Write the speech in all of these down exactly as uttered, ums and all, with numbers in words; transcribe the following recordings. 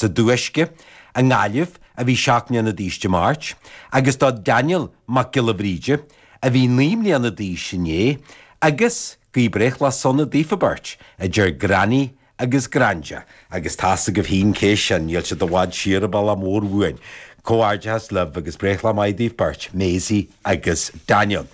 sa Dúisce i nGaillimh a bhí seacht mbliana d'aois Dé Máirt, agus do Daniel Mac Giolla Bhríde a bhí naoi mbliana d'aois inné, agus guím breithlá sona daofa beirt, a deir Granny agus Granda, agus tá's agaibh féin cé sin, níl siad i bhfad siar an bealach mór uainn. Comhghairdeas libh agus breithlá maith daoibh beirt, Maisie agus Daniel.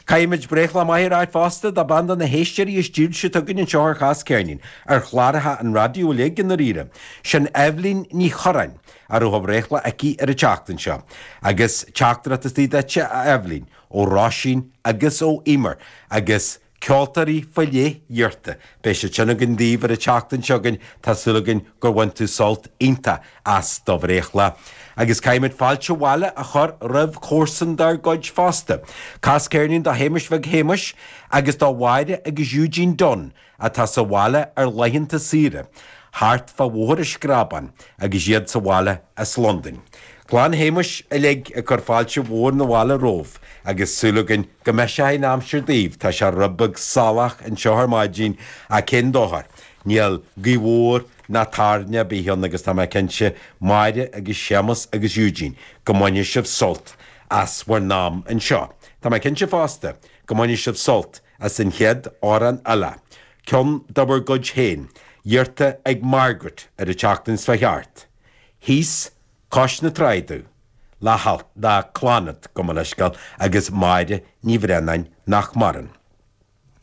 Caithfimid breithlá maith a ráit fosta do bean de na héisteoirí is dílse atá againn anseo ar Chas Ceirnín, ar chláracha an raidió uilig i ndáiríre. Sin Eibhlín Ní Chorráin, a raibh a breithlá aici ar an tseachtain seo. Agus teachtaireacht istigh duitse, a Eibhlín, ó Róisín agus ó Emer, agus ceoltóirí faoi leith iarrta. Beidh siad sin againn daoibh ar an tseachtain seo chugainn, tá súil againn gur bhain tú sult iontach as do bhreithlá. Agus caithfimid fáilte abhaile a chur roimh chomharsan dár gcuid fosta. Cas ceirnín do Shéamais Bheag Shéamais agus do Mháire agus Eugene Dunn atá sa bhaile ar laethanta saoire, thart fá Bhóthar an Screabáin agus iad sa bhaile as Londain. Clann Shéamais uilig ag cur fáilte mhór na bhaile romhaibh agus súil againn go mbeidh sé in aimsir daoibh, tá sé rud beag salach anseo ar maidin ach cén dochar, níl gaoth mhór ná toirne ar bith ann agus tá mé cinnte, Máire agus Séamus agus Eugene, go mbainfidh sibh sult as bhur n-am anseo. Tá mé cinnte fosta go mbainfidh sibh sult as an chéad amhrán eile, ceann de bhur gcuid féin, iarrta ag Margaret ar an tseachtain seo thart. Thíos cois na trá domh, le halt, le Clannad, gabh mo leithscéal, agus Máire Ní Bhraonáin nach maireann.